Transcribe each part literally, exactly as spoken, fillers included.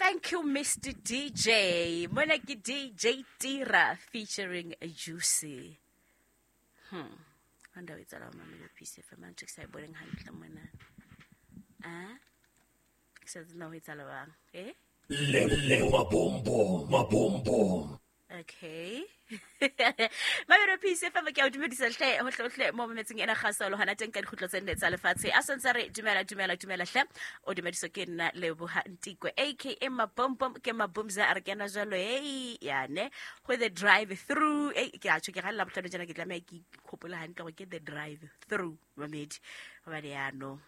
Thank you, Mister D J. Mona ke D J Tira featuring Juicy. Hmm. Anda o etsahala mamelo P C F M ntho ke sa e boneng hantle mona. Ah? Ke sa tsebe na ho etsahala bang. Eh? Le le mabombo, mabombo. Okay. Mamelo P C F M ke a o dumedisa hle hohle hohle mo mametseng ena kgaso le hona teng ka dikgutlo tse nne tsa lefatshe. A santse re dumela dumela dumela hle. O dumediswa ke nna Leboha Ntikwe A K A Mabombom ke Mabomza a re kena jwalo hey yane go the drive through. Hey ke a tjho ke galla bohlano jana ke tlameha ke ikgopola hantle gore ke the drive through mamedi. Hobane ya no.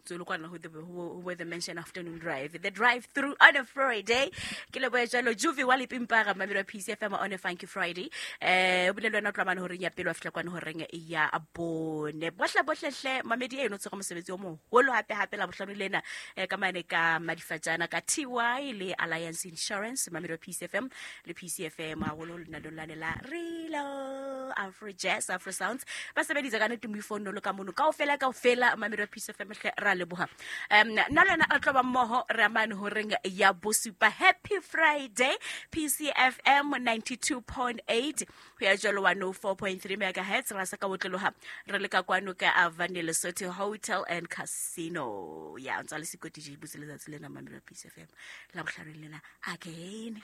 So look on who the who were the mention afternoon drive, the drive through on a Friday. Ke le boya jalo Juvi wa Lepimpara mamelo P C F M on a funky Friday. Eh o bile le wena o tla mane horeng ya pele wa fihla kwana horeng ya bone. Bohle bohle hle mamedi eno tsoga mosebetsi o moholo hape hape la bohlano lena ka mane ka Madifatjana ka T Y le Alliance Insurance mamelo P C F M le P C F M haholo lena lona la Relo Afro Jazz Afro Sounds ba sebedisa ka nete moifono lo ka mono kaofela kaofela mamelo P C F M hle ra leboha. Um nna le wena re tlo ba mmoho re amane horeng ya bosupa. Happy Friday P C F M ninety-two point eight ho ya jwalo one oh four point three megahertz ra sa ka botloloha re le ka kwano ka Avani Lesotho Hotel and Casino. Ya ntse le sekoti je butse letsatsi lena mamelo P C F M la bohlano lena again.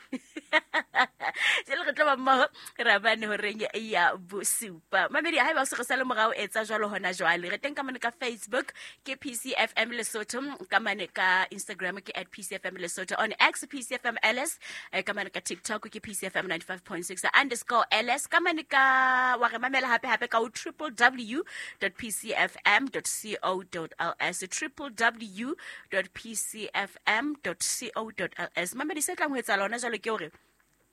Jele re tlo ba mmoho re amane horeng ya bosupa. Mamedi haeba o se re sale morao etsa jwalo hona jwale re teng ka mane ka Facebook ke P C F M Lesotho, ka mane ka Instagram ke at P C F M Lesotho, on X P C F M L S, ka mane ka TikTok ke P C F M ninety-five point six underscore L S, ka mane ka wa re mamela hape hape ka w w w dot p c f m dot co dot l s, w w w dot p c f m dot co dot l s. Mamedi se tlang ho etsahala hona jwale ke hore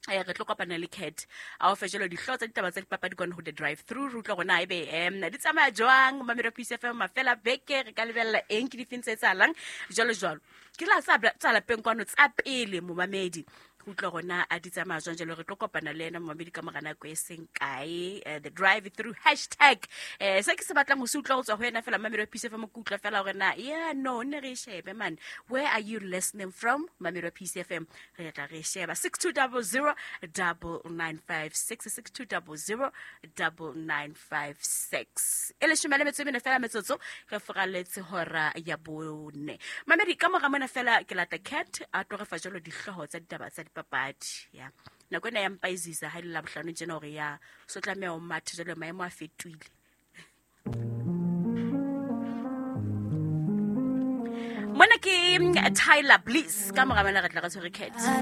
eh re tlo kopana le Cat a o fe jalo dihlooho tsa ditaba tsa dipapadi kwana ho the drive through re utlwa rona ebe em di tsamaya jwang mamelo P C F M mafela beke re ka lebella eng ke difeng tse etsahalang jwalo jwalo ke la tsa tsa lapeng kwano tsa pele momamedi re utlwa rona a di tsamaya jwang jalo re tlo kopana le ena momamedi ka mora nako e seng kae the drive through hashtag eh se ke se batlang ho se utlwa ho tswa ho yena fela mamelo P C F M ke utlwa fela hore na yeah no ne re shebe man where are you listening from mamelo P C F M re tla re sheba six two zero zero double nine five six six two zero zero double nine five six e leshome le metso e mene fela metsotso re foraletse hora ya bone mamedi ka mora mona fela ke lata Cat a tlo re fa jalo dihlooho tsa ditaba tsa dipapadi ya nako ena ya mpaizisa ha le la bohlano tjena hore ya so tlameha o mathe jalo maemo a fetohile. Mona ke Tyler Bliss ka mora mona re tla re tshwere Cat.